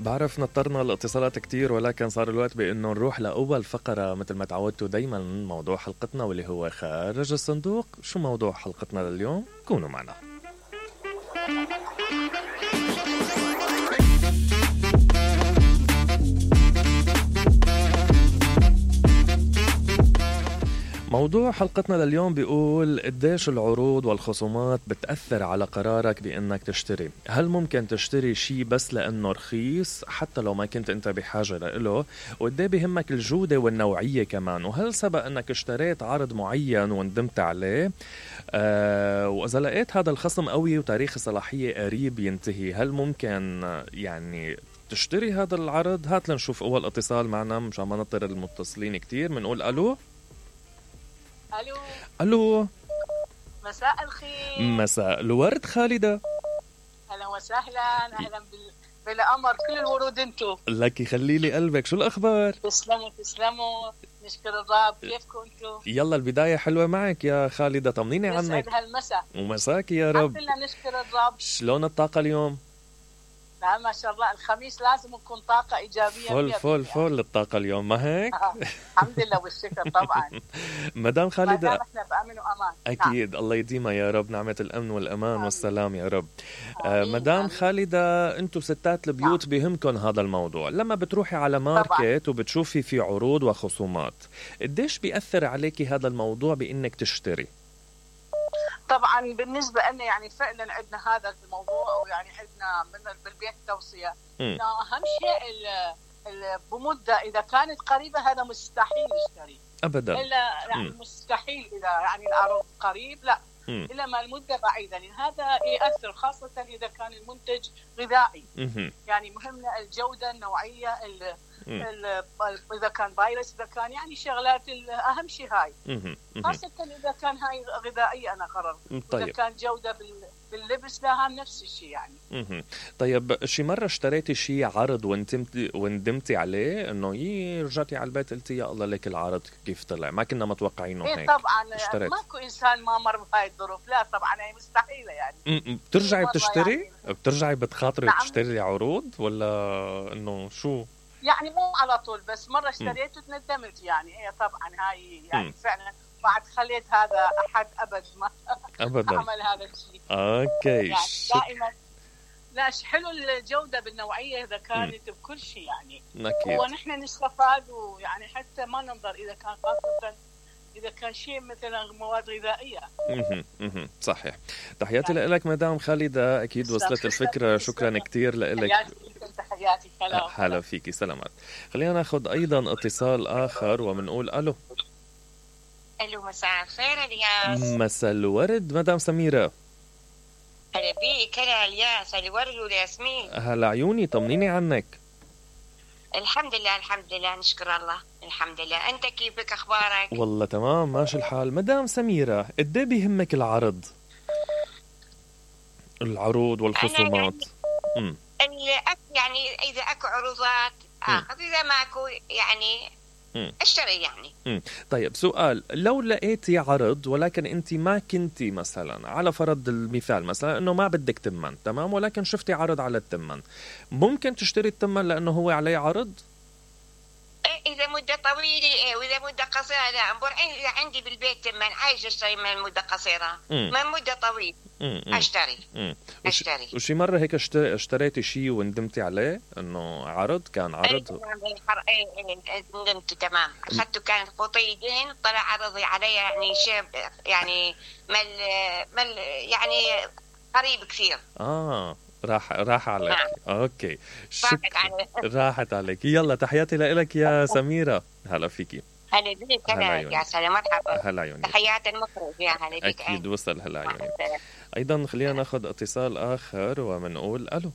بعرف نطرنا الاتصالات كتير، ولكن صار الوقت بأنه نروح لأول فقرة مثل ما تعودتوا دايما موضوع حلقتنا واللي هو خارج الصندوق. شو موضوع حلقتنا لليوم؟ كونوا معنا. موضوع حلقتنا لليوم بيقول قديش العروض والخصومات بتأثر على قرارك بأنك تشتري. هل ممكن تشتري شيء بس لأنه رخيص حتى لو ما كنت أنت بحاجة له؟ وقديه بهمك الجودة والنوعية كمان؟ وهل سبق أنك اشتريت عرض معين وندمت عليه؟ وإذا لقيت هذا الخصم قوي وتاريخ الصلاحية قريب ينتهي، هل ممكن يعني تشتري هذا العرض؟ هات لنشوف أول اتصال معنا مشان ما نطر المتصلين كتير. منقول ألو. ألو. مساء الخير. مساء الورد خالدة. أهلا وسهلا. أهلا بالأمر، كل الورود انتو. لك يخلي لي قلبك. شو الأخبار؟ تسلموا. نشكر الرب. كيفكم انتو؟ يلا البداية حلوة معك يا خالدة، طمنيني عنك. يسعد هالمساء. ومساك يا رب. الحمد لله نشكر الرب. شلون الطاقة اليوم؟ لا ما شاء الله، الخميس لازم نكون طاقة إيجابية. فل الطاقة اليوم، ما هيك؟ الحمد لله والشكر طبعا. مدام خالدة، ما احنا بأمن وأمان. أكيد. الله يديمها يا رب، نعمة الأمن والأمان والسلام يا رب. مدام خالدة، أنتم ستات البيوت بهمكن هذا الموضوع. لما بتروحي على ماركت وبتشوفي في عروض وخصومات، قديش بيأثر عليكي هذا الموضوع بإنك تشتري؟ طبعا بالنسبة لنا يعني فعلا عندنا هذا الموضوع، ويعني عندنا من بالبيت توصية انه اهم شيء بمدة اذا كانت قريبة هذا مستحيل نشتري ابدا، الا يعني مستحيل اذا يعني العرض قريب، لا الا ما المدة بعيدة، لان هذا يأثر خاصة اذا كان المنتج غذائي. يعني مهمة الجودة، النوعية، إذا كان فيروس، إذا كان يعني شغلات أهم شيء هاي، خاصة إذا كان هاي غذائية. أنا قررت طيب. إذا كان جودة باللبس لها نفس الشيء يعني. طيب شي مرة اشتريتي شي عرض وندمتي عليه إنه رجعتي على البيت قلتي يا الله لك العرض كيف طلع، ما كنا متوقعينه هيك؟ طبعا ماكو إنسان ما مر بهاي الظروف، لا طبعا هي مستحيلة يعني. بترجعي بتشتري؟ يعني بترجعي بتخاطري نعم. تشتري عروض ولا إنه شو؟ يعني مو على طول، بس مرة اشتريت وتندمت يعني. هي طبعا هاي يعني فعلا بعد خليت هذا أحد أبدا عمل هذا الشيء. أوكي يعني دائما لا حلو الجودة بالنوعية إذا كانت بكل شيء يعني. أكيد. ونحن نستفاد، ويعني حتى ما ننظر إذا كان خاصة إذا كان شيء مثلا مواد غذائية. صحيح. تحياتي يعني لك مدام خالدة، أكيد وصلت الفكرة. شكرا كتير لك. تحياتي. هلا فيكي، سلامات. خلينا ناخد أيضا اتصال آخر ومنقول ألو. مساء الخير الياس. مساء الورد مدام سميرة. هلا بيك. هلا الياس. الورد والياسمين. هلا عيوني، طمنيني عنك. الحمد لله نشكر الله. الحمد لله. أنت كيفك، أخبارك؟ والله تمام ماشي الحال. مدام سميرة، قديه بيهمك العروض والخصومات؟ يعني إذا أكو عروضات آخذ، إذا ماكو يعني اشتري يعني. طيب سؤال، لو لقيتي عرض ولكن انت ما كنتي مثلا، على فرض المثال مثلا انه ما بدك تمن، تمام، ولكن شفتي عرض على التمن، ممكن تشتري التمن لانه هو عليه عرض؟ إذا مدة طويلة وإذا مدة قصيرة لا. إذا عندي بالبيت تمن عايش أشتري من مدة قصيرة، من مدة طويلة أشتري. وشي مرة هيك اشتريتي شيء وندمتي عليه إنه عرض كان عرض؟ ندمت تمام. أخذته كانت قطيدين، طلع عرضي علي يعني شيء يعني مل يعني قريب كثير. راح عليك. اوكي راحت عليك. يلا تحياتي لك يا سميرة. هلا فيكي. هلا بيك. هلا يا سلام، مرحبا. هلا عيوني. تحيات المخرج يا هلا بيك. اكيد وصل. هلا عيوني. ايضا خلينا ناخذ اتصال اخر ومنقول الو.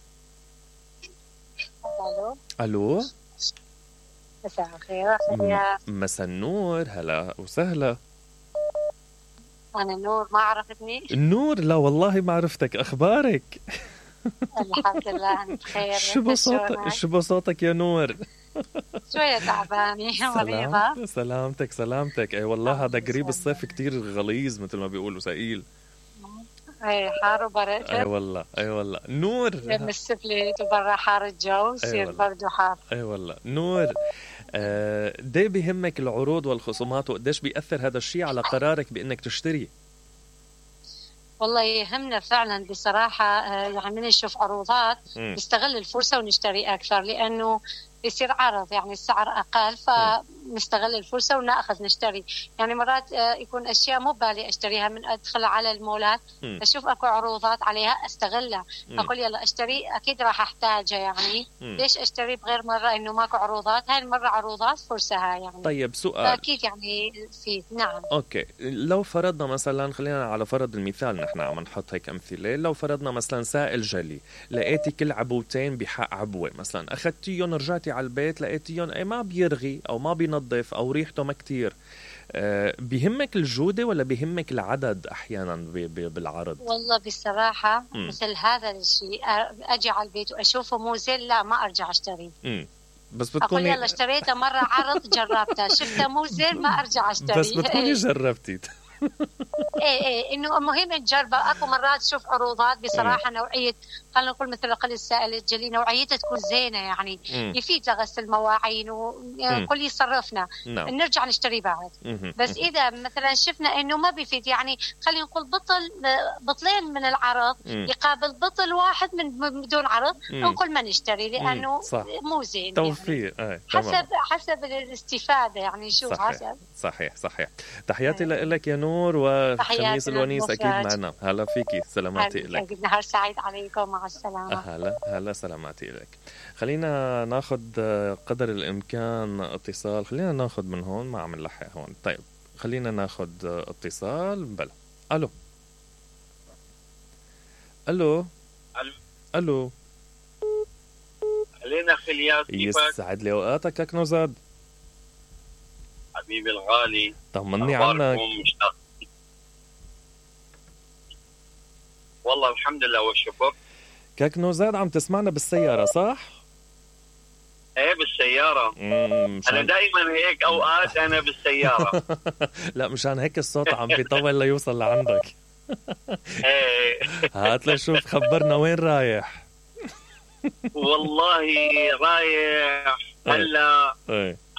الو. مساء الخير. مساء النور. هلا وسهلا. انا نور، ما عرفتني؟ النور؟ لا والله ما عرفتك. اخبارك؟ الحمد لله بخير. شو بصوتك يا نور؟ شوية تعبانة مريضة. سلامتك. اي والله هذا قريب الصيف كتير غليظ مثل ما بيقولوا، ثقيل. اي حار وبرد. اي والله نور يم السفلت وبرا حار الجو يصير برد وحار. اي والله نور. قديه بيهمك العروض والخصومات وقديش بيأثر هذا الشيء على قرارك بانك تشتري؟ والله يهمنا فعلا بصراحة، يعني من نشوف عروضات نستغل الفرصة ونشتري أكثر، لأنه يصير عرض يعني السعر أقل فنستغل الفرصة ونأخذ نشتري. يعني مرات يكون أشياء مو بالي أشتريها، من أدخل على المولات أشوف أكو عروضات عليها أستغلها، أقول يلا أشتري أكيد راح أحتاجها، يعني ليش أشتري بغير مرة إنه ماكو عروضات؟ هاي المرة عروضات فرصة هاي يعني. طيب سؤال أكيد يعني في نعم. أوكي، لو فرضنا مثلا، خلينا على فرض المثال، نحن عم نحط هيك أمثلة، لو فرضنا مثلا سائل جلي لقيتي كل عبوتين بحق عبوة مثلا، أخذتيهم رجعتي على البيت لقيتيهم ما بيرغي أو ما بينظف أو ريحته ما كتير، بيهمك الجودة ولا بيهمك العدد أحيانا بالعرض؟ والله بصراحة مثل هذا الشيء أجي على البيت وأشوفه مو زين، لا ما أرجع أشتري. بس بتكوني أقول يلا اشتريته مرة عرض جربته شفته مو زين ما أرجع أشتري. بس بتكوني جربتي. ايه انه مهم تجربه. اكو مرات تشوف عروضات بصراحه نوعيه، خلينا نقول مثل قل السائل الجلي نوعيتها تكون زينه، يعني يفيد لغسل المواعين وكل يصرفنا نرجع نشتري بعد. بس اذا مثلا شفنا انه ما بيفيد، يعني خلينا نقول بطلين من العرض يقابل بطل واحد من بدون عرض، نقول ما نشتري لانه مو زين. توفير يعني. حسب الاستفاده يعني. شو حسب. صحيح. تحياتي لك يا نور، وخميس الونيس اكيد معنا. هلا فيكي، سلاماتي لك. نهار سعيد عليكم، مع السلامه. هلا سلاماتي لك. خلينا ناخذ قدر الامكان اتصال، خلينا ناخذ من هون، ما عم نلحق هون. طيب خلينا ناخذ اتصال. بلا الو علينا خليات. يسعد لي اوقاتك يا كنوزاد حبيبي الغالي، طمني عنك. والله الحمد لله والشكر. كاكنوزاد عم تسمعنا بالسيارة صح؟ ايه بالسيارة. انا دائما هيك اوقات انا بالسيارة. لا مشان هيك الصوت عم بيطول ليوصل لعندك. ايه هات لشوف، خبرنا وين رايح. والله رايح هلا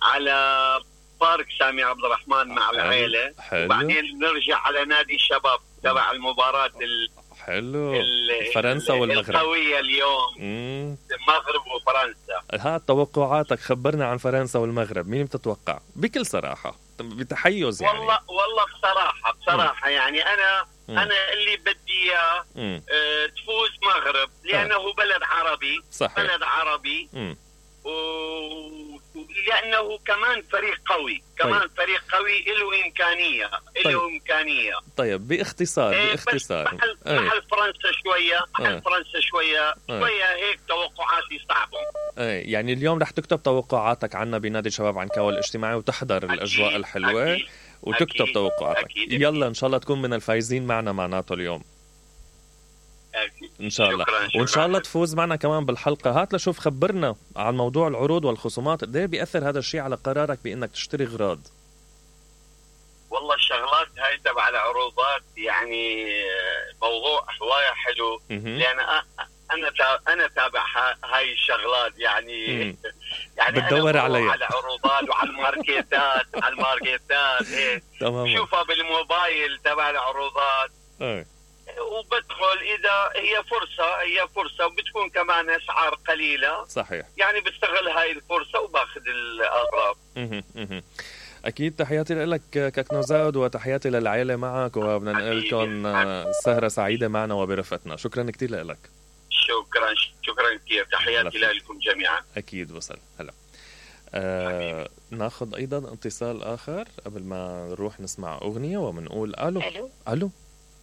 على بارك سامي عبد الرحمن مع العائلة، وبعدين نرجع على نادي الشباب تبع المباراة حلو فرنسا والمغرب القوية اليوم. المغرب وفرنسا. ها توقعاتك، خبرنا عن فرنسا والمغرب، مين بتتوقع بكل صراحة بتحيز يعني؟ والله بصراحة يعني أنا اللي بدي إياه تفوز مغرب، لأنه بلد عربي. صحيح. بلد عربي لأنه كمان فريق قوي. كمان فريق قوي له إمكانية. طيب باختصار محل فرنسا شوية هيك توقعاتي صعبة. يعني اليوم رح تكتب توقعاتك عنا بنادي الشباب عنكاوي الاجتماعي وتحضر الأجواء الحلوة وتكتب توقعاتك. يلا إن شاء الله تكون من الفايزين معنا معناته اليوم إن شاء الله. وإن شاء الله تفوز معنا كمان بالحلقة. هات لشوف، خبرنا عن موضوع العروض والخصومات، قديه بيأثر هذا الشيء على قرارك بأنك تشتري أغراض؟ والله الشغلات هاي تبع العروضات يعني موضوع هواية حلو، لأن أنا تابع هاي الشغلات يعني بتدور عليها على عروضات وعلى الماركتات إيه. شوفها بالموبايل تبع العروضات وبدخل. إذا هي فرصة وبتكون كمان أسعار قليلة. صحيح. يعني بستغل هاي الفرصة وباخذ الأغراض. أكيد. تحياتي لك كاكنوزاد وتحياتي للعائلة معك، وبدنا نقول لكم سهرة سعيدة معنا وبرفتنا. شكرا كتير لك. شكرا كتير. تحياتي لكم جميعا. أكيد وصل. هلا ناخذ أيضا اتصال آخر قبل ما نروح نسمع أغنية ومنقول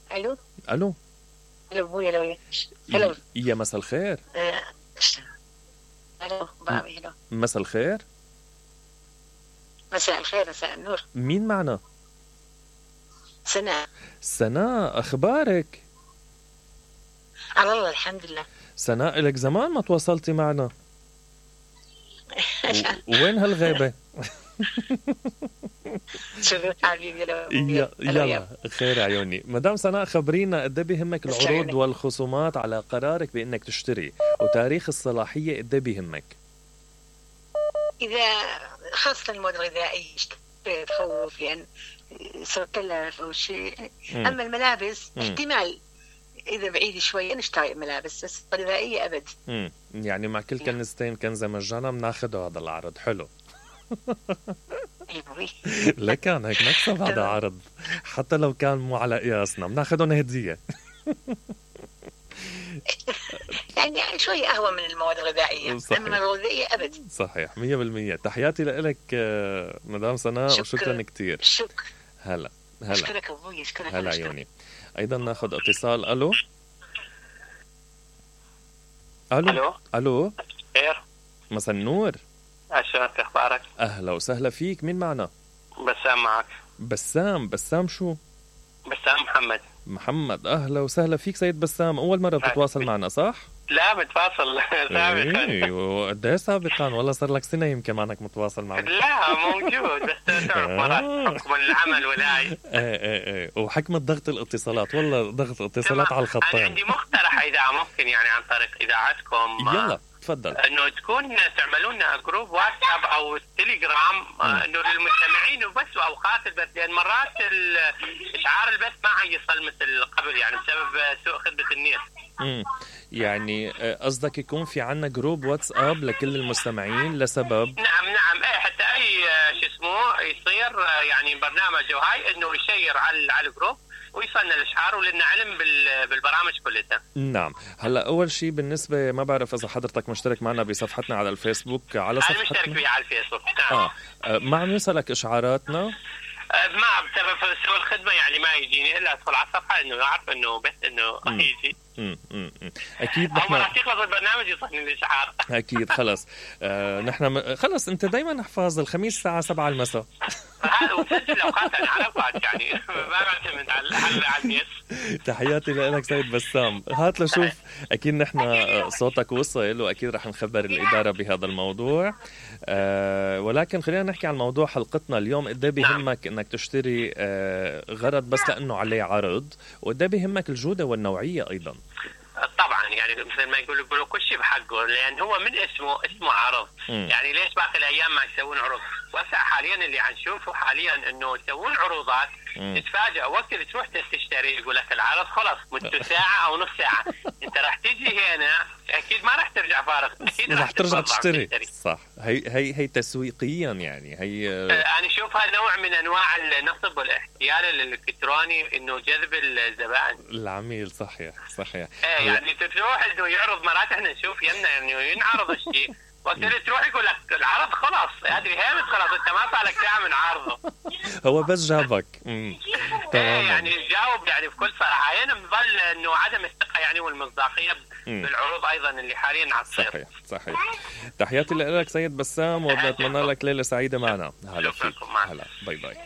ألو ابويا. هلو يا مساء الخير. الو بابي. هلو مساء الخير. مساء الخير، مساء النور. مين معنا؟ سناء. أخبارك؟ على الله الحمد لله. سناء لك زمان ما تواصلتي معنا. وين هالغيبة؟ يلا خير عيوني. مدام سناء خبرينا قد بيهمك العروض والخصومات على قرارك بانك تشتري، وتاريخ الصلاحيه قد بيهمك؟ اذا خاصه المواد الغذائيه تخوف لان صار كلف او شيء. اما الملابس احتمال اذا بعيد شوي نشتري ملابس، بس غذائيه ابد. يعني مع كل كنزتين كنزه مجانا بناخذه هذا العرض. حلو. لكن هيك نكسب هذا عرض حتى لو كان مو على قياسنا بناخذهم هديه. يعني شوي اهون من المواد الغذائيه، اما الغذائيه ابد. صحيح 100%. تحياتي لك مدام سناء وشكرا كثير. شكرا. هلا اشكرك ابوي، اشكرك. هلا عيوني. ايضا ناخذ اتصال. الو خير. مساء النور. عشان اخبارك؟ اهلا وسهلا فيك. مين معنا؟ بسام معك. بسام شو؟ بسام محمد. اهلا وسهلا فيك سيد بسام. اول مره بتتواصل معنا صح؟ لا متواصل سابقا. وقد ايه سابقا؟ والله صار لك سنه يمكن ما انك متواصل معنا. لا موجود بس تعرف مرات حكم العمل ولاي. ايه وحكم ضغط الاتصالات. والله ضغط اتصالات على الخطين. انا عندي مقترح اذا ممكن يعني عن طريق اذاعتكم. يلا تفضل. انه تكون تعملون جروب واتساب او تليجرام انه للمستمعين وبس اوقات البث، لان مرات اشعار البث ما يصل مثل قبل يعني بسبب سوء خدمه النت. يعني قصدك يكون في عنا جروب واتساب لكل المستمعين لسبب؟ نعم ايه حتى اي شو اسمه يصير يعني برنامج وهاي انه يشير على الجروب ويصلنا الاشعار ولنا علم بالبرامج كلها. نعم. هلا اول شيء بالنسبه ما بعرف اذا حضرتك مشترك معنا بصفحتنا على الفيسبوك. على صفحتنا انا مشترك فيها على الفيسبوك. نعم. ما عم يوصلك اشعاراتنا؟ ما بسبب سوء الخدمه يعني ما يجيني الا ادخل على الصفحه انه اعرف انه بس انه يجي. اكيد نحن اول ما يخلص البرنامج يوصلني الاشعار. اكيد خلص. نحن خلص انت دايما احفظ الخميس الساعه 7 المساء. هذا وسجل اوقات انا عرفت يعني ما بعتمد على الناس. تحياتي لك سيد بسام. هات لشوف اكيد نحن صوتك وصل واكيد رح نخبر الاداره بهذا الموضوع. ولكن خلينا نحكي عن موضوع حلقتنا اليوم. قد ايه بيهمك انك تشتري غرض بس لانه عليه عرض، وقد ايه بيهمك الجوده والنوعيه ايضا؟ طبعا يعني مثل ما يقولوا كل شيء بحقه، لان هو من اسمه عرض. يعني ليش باقي الايام ما يسوون عروض؟ وهسه حاليا اللي عم نشوفه حاليا انه يسوون عروضات تتفاجئ وقت اللي تروح تشتري يقول لك العرض خلص مدته ساعه او نص ساعه. انت راح تيجي هنا اكيد ما راح ترجع فارغ، اكيد راح ترجع تشتري. صح. هي تسويقيا يعني هي انا اشوفها نوع من انواع النصب والاحتيال الالكتروني انه جذب الزبائن العميل. صحيح يعني تروح انه يعرض مرات احنا نشوف يمنا انه ينعرض الشيء وقت اللي تروح يقول لك العرض خلاص هذه هامت خلاص انت ما صار لك ساعه من عرضه. هو بس جابك. تمام. يعني جاوب يعني بكل صراحه. هنا بظل انه عدم الثقه يعني والمصداقيه بالعروض ايضا اللي حاليا عم تصير. صحيح. تحياتي لك سيد بسام وبنتمنى لك ليله سعيده معنا. هلا فيك. هلا باي.